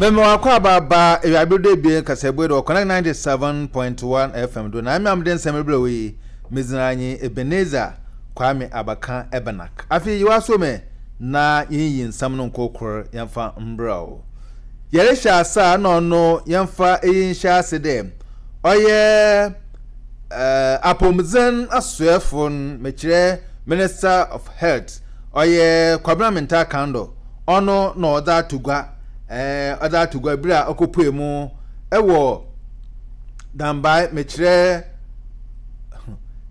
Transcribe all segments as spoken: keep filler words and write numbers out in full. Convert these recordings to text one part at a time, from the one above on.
Mɛmɛ wakɔ abaaba ewiabe do ebien kasɛbue do Connect ninety seven point one F M do na ɛmɛ amde nsɛm ebere wo yi medzina nye Ebenezer Kwame Abaka Ebenak. Afei yiwa so mɛ na yɛnyi nsɛm no nkokor yɛmfa mbrɛ o. Yɛrehyɛ asa na ɔno yɛmfa eyi nhyɛ ase dɛ ɔyɛ ɛɛ apɔmuden asoɛfo no, mekyerɛ Minister of Health, ɔyɛ Kwabena Mintah Akandoh, ɔno na ɔdze ato gua ɛɛ ɔdze ato gua bere a ɔkɔpue mu ɛwɔ Dambae, mekyerɛ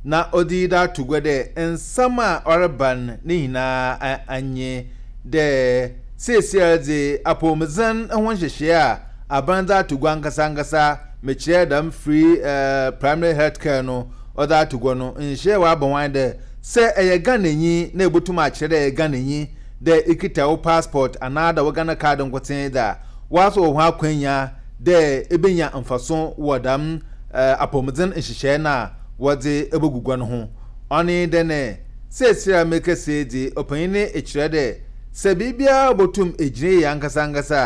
na ɔde da ato gua dɛ nsɛm a ɔreba no ne nyinaa anye dɛ seesia dze apɔmuden ho nhyehyɛe a aban dze ato gua ankasa ankasa, mekyerɛ dɛm free ɛɛ primary health care no, ɔdze ato gua no nhyɛ wabɔ wɔn dɛ sɛ ɛyɛ Ghananyi na ebotum akyerɛ dɛ ɛyɛ Ghananyi dɛ ekita wo passport anaa da wo Ghana Card nkotsee dɛ a wɔaso wɔ ho akwanya dɛ ebenya mfaso wɔ dɛm ɛɛ apɔmuden nhyehyɛe no a wɔdze ebegugua no ho. Ɔne dɛ ne seesei a mekɛse dze ɔpanyin ne ekyerɛ dɛ sɛ biribiara botum egyina yie ankasa ankasa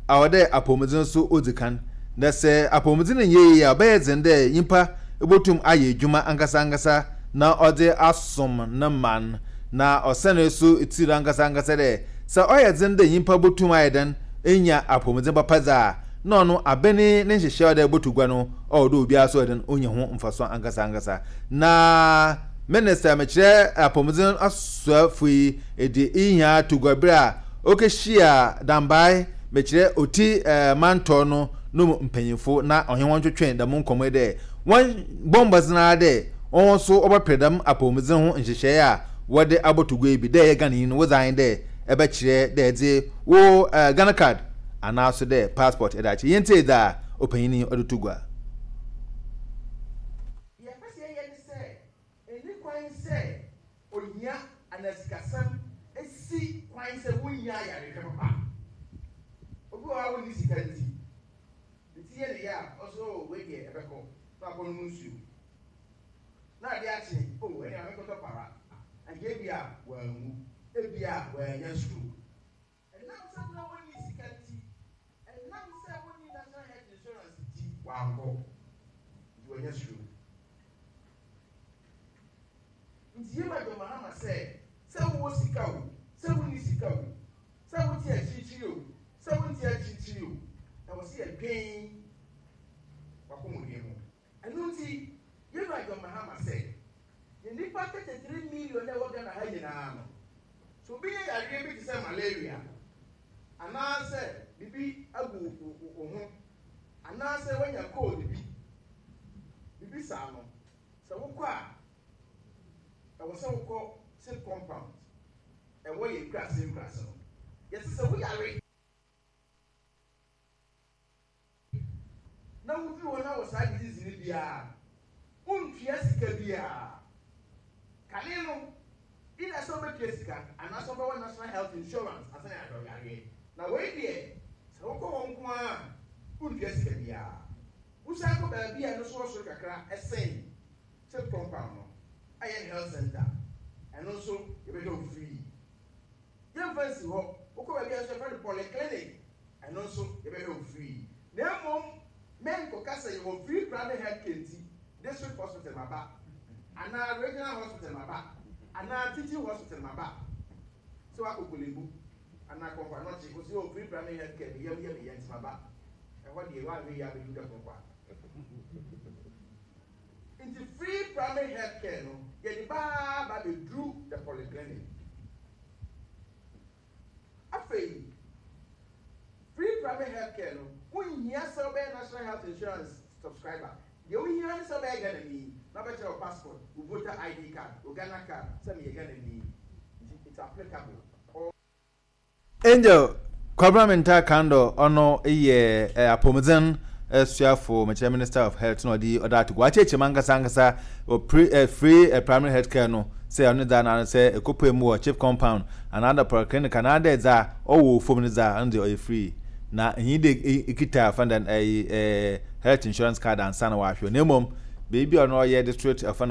a, awɔ dɛ apɔmuden nso odzi kan, na sɛ apɔmuden nyɛ yie a, ɔbɛyɛ dzen dɛ nyimpa ebotum ayɛ edwuma ankasa ankasa na ɔdze asom ne man. Na ɔsɛne so tiri ankasa ankasa dɛ sɛ ɔyɛ dzen dɛ nyimpa botum ayɛ dɛn enya apɔmuden papa dze a, na ɔno abɛne ne nhyehyɛ a ɔde botu gua no ɔwɔ dɛ obiara so ɔde onya ho mfaso ankasa ankasa. Na minister, mekyerɛ apɔmuden asoafo yi, edi ihia to gua bere a ɔkɛhyia Dambae, mekyerɛ Oti ɛɛ mantɔ no no mu mpanyinfo na ɔhe wɔn twetwe dɛm nkɔmɔ yi dɛ wɔn bɔ mbɔdzen ara dɛ wɔn nso wɔbɛpere dɛm apɔmuden ho nhyehyɛe a wɔde abɔto gua yi bi dɛ ɛyɛ Ghana yi no wɔdze ahen dɛ ɛbɛkyerɛ dɛ ɛdze wo ɛɛ Ghana Card anaaso dɛ passport ɛde akyerɛ. Yɛn tie dza ɔpanyin yi ɔde to gua. Yɛpɛ sɛ yɛyɛ ne sɛ ɛni kwan sɛ ohia anaa sikasɛm esi kwan sɛ wonya ayarehwɛ papa. Obi wɔ hɔ a wonni sika nti ne ti yɛ ne yɛ a, ɔsɛ o, wei deɛ ɛbɛkɔ na akɔ nom nsuo na ade akye o, ɛne amekɔtɔ para anka ebi a wɔanwu, ebi a wɔanya stroke. Ɛnam sɛ na wɔnni sika nti, ɛnam sɛ wɔnni National Health Insurance nti, wankɔ nti wɔanya stroke. Nti yɛma John Mahama sɛ sɛ wowɔ sika o, sɛ wonni sika o, sɛ wote akyirikyiri o, sɛ wonte akyirikyiri o, ɛwɔ sɛ yɛdwen wakɔmɔden ho. Ɛno nti yɛma John Mahama sɛ yɛ nipa thirty three million na ɛwɔ Ghana ha nyinaa no, so obi yɛ yareɛ bi te sɛ malaria anaasɛ biribi agu wo ho anaasɛ wanya cold bi, biribi saa no, sɛ wokɔ a, ɛwɔ sɛ wokɔ CHPS compound ɛwɔ yɛ nkurase nkurase no. Yɛsɛ sɛ woyare na woduru hɔ na wɔ saa disease no biara, wontua sika biara. Kane no, ina sɛ wobɛtua sika anaasɛ wobɛwɔ National Health Insurance asan yɛ ahwɛ yareɛ. Na wei deɛ, sɛ wokɔ hɔ nko a, wontua sika biara. Wosan kɔ baabi a ɛno so wɔ soro kakra ɛsɛn CHPS compound no, ɛyɛ health center, ɛno nso yɛbɛhwɛ wo free. Yɛmfa nsi hɔ, wokɔ baabi a nso yɛfrɛ no polyclinic, ɛno nso yɛbɛhwɛ wo free. Na mmom mɛnkɔka sɛ yɛwɔ free primary health care nti district hospital maba anaa regional hospital maba anaa teaching hospital maba. Sɛ wakɔ Korle Bu anaa Kɔmfo Anɔkye, o sɛ yɛwɔ free primary health care, meyam yɛ meyɛ nti maba ɛhɔ deɛ, woanhwɛ yi abɛdu da kɔnkɔ a. Nti free primary health care no, yɛde baa ba bɛduru the polyclinic. Afei free primary health care no, wonhia sɛ wobɛyɛ National Health Insurance subscriber. Deɛ wohia ne sɛ wobɛyɛ Ghanani na wobɛkyerɛ wo passport, wo voter I D card, wo Ghana Card sɛ meyɛ Ghanani. Nti it's applicable all. Angel Kwabena Mintah Akandoh, ɔno yɛ ɛ apɔmuden suafo, mekyerɛ Minister of Health, na ɔde ɔde ato gua akyerɛkyerɛ mu ankasa ankasa wɔ pre ɛ free ɛ primary health care no sɛ ɔno dza na sɛ ekɔpue mu wɔ CHPS compound anaa da polyclinic anaa dɛ dza ɔwɔ fam no dza ɔno deɛ ɔyɛ free na ɛnyi de ekita fɛn dɛ ɛyi ɛɛ health insurance card ansa na wahwɛ. Na mmom beebi a ɔno ɔyɛ district ɛfɛ no.